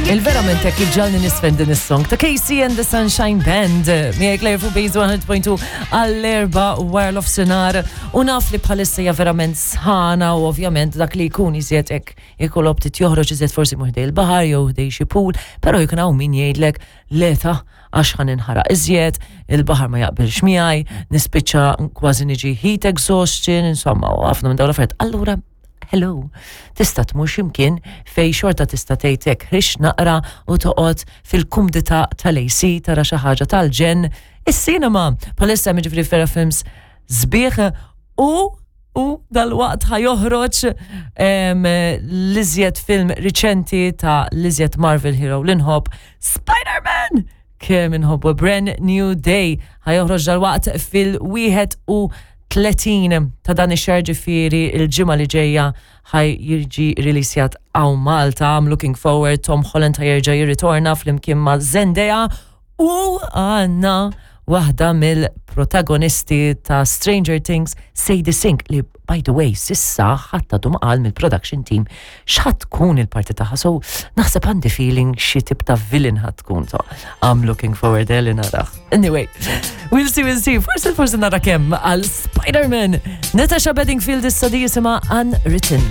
Il-verament hekk iġġalni nisfen din is-song ta' Casey and the Sunshine Band. Miegħek Claire fuq Base 100.2 għall-erba wara l-ofsinhar u naf li bħalissa hija verament sħana u ovvjament dak li jkun iżjed hekk ikollok ftit joħroġ iżjed forsi mhux ħdej il-baħar jew ħdej xi pool, però jkun hawn min jgħidlek le ta' għax ħa ninħaraq iżjed, il-baħar ma jaqbilx miegħi, nispiċċa kważi niġi heat exhaustion, insomma, u ħafna minn dawn l-affarijiet. Allura hello, tista' tmur x'imkien fej xorta tista' tgħid hekk ħrix naqra u toqgħod fil-kumdità tal-AC tara xi ħaġa tal-ġenn. Is-cinema bħalissa hemm jiġifieri vera films sbieħ u u dal-waqt ħa joħroġ l-iżjed film riċenti ta' l-iżjed Marvel hero li nħobb, Spider-Man! Kemm inħobbu Brand New Day ħa joħroġ dal-waqt fil-31 ta' dan ix-xahar ġifieri il-ġimgħa li ġejja ħaj jiġi releasjat hawn Malta. I'm looking forward Tom Holland ħa jerġa' jirritorna flimkien ma' Zendaya u għandna waħda mill-protagonisti ta' Stranger Things, Sadie Sink, li by the way, sissa ħadd għadu ma qal mill-production team x'ħa tkun il-parti tagħha. So naħseb għandi feeling xi tip ta' villain ħa tkun. So I'm looking forward eh, li narah. Anyway, we'll see, we'll see. Forsi forsi nara kemm għal Spider-Man. Natasha Bedingfield issa di jisimha Unwritten.